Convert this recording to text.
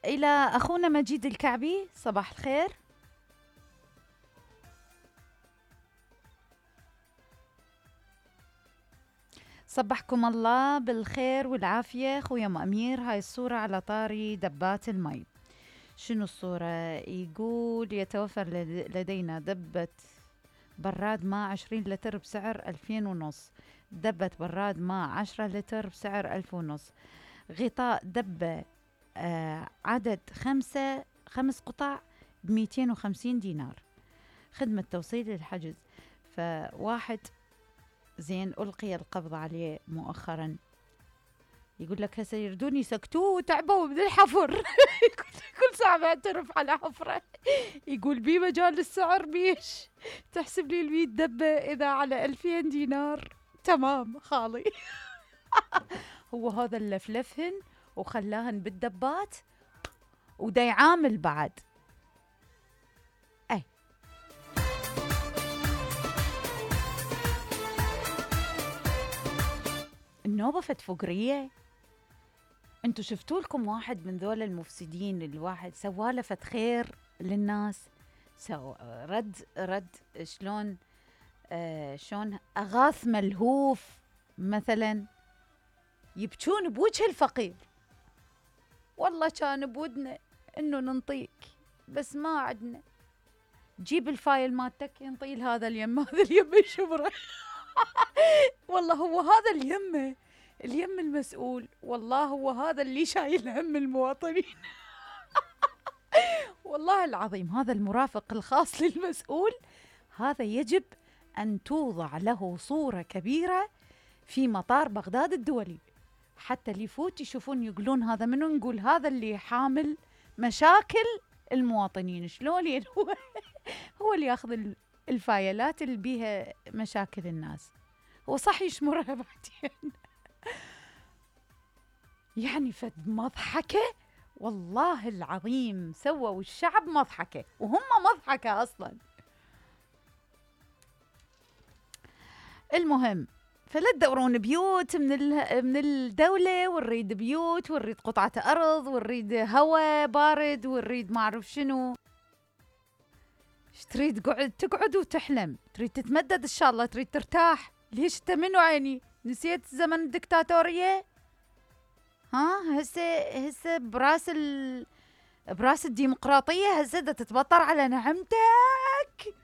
إلى أخونا مجيد الكعبي، صباح الخير. صبحكم الله بالخير والعافية خويا أم أمير. هاي الصورة على طاري دبات المي. شنو الصورة؟ يقول يتوفر لدينا دبة براد ماء 20 لتر بسعر 2500. دبة براد ماء 10 لتر بسعر 1500. غطاء دبة عدد 5 قطع ب250 دينار. خدمة توصيل الحجز. فواحد زين ألقي القبض عليه مؤخرا، يقول لك هسه يردون يسكتوه وتعبوا من الحفر. كل ساعة بيعترف على حفرة. يقول بي مجال السعر بيش تحسب لي 100 دبة إذا على 2000 دينار. تمام خالي. هو هذا اللي فلفهن وخلاهن بالدبات ودا يعامل بعد. أي النوبة فت فقرية. انتو شفتوا لكم واحد من ذول المفسدين، الواحد سواله فت خير للناس، رد شلون شلون أغاث ملهوف مثلا، يبكون بوجه الفقير. والله كان بودنا انه ننطيك بس ما عدنا. جيب الفايل مالتك ينطي هذا اليم، هذا اليم الشبرة. والله هو هذا اليم المسؤول، والله هو هذا اللي شايل هم المواطنين. والله العظيم هذا المرافق الخاص للمسؤول، هذا يجب أن توضع له صورة كبيرة في مطار بغداد الدولي، حتى اللي يفوت يشوفون يقولون هذا منو، نقول هذا اللي حامل مشاكل المواطنين. شلون هو اللي ياخذ الفايلات اللي بيها مشاكل الناس، هو صح يشمرها بعدين. يعني فد مضحكة والله العظيم، سووا الشعب مضحكة وهم مضحكة أصلا. المهم فلا تدورون بيوت من الدولة، ونريد بيوت، ونريد قطعة أرض، ونريد هواء بارد، ونريد ما أعرف شنو. ايش تريد؟ تقعد وتحلم، تريد تتمدد إن شاء الله، تريد ترتاح. ليش انت منو عيني؟ نسيت زمن الدكتاتورية؟ ها هسه براس الديمقراطية، هسه دا تتبطر على نعمتك.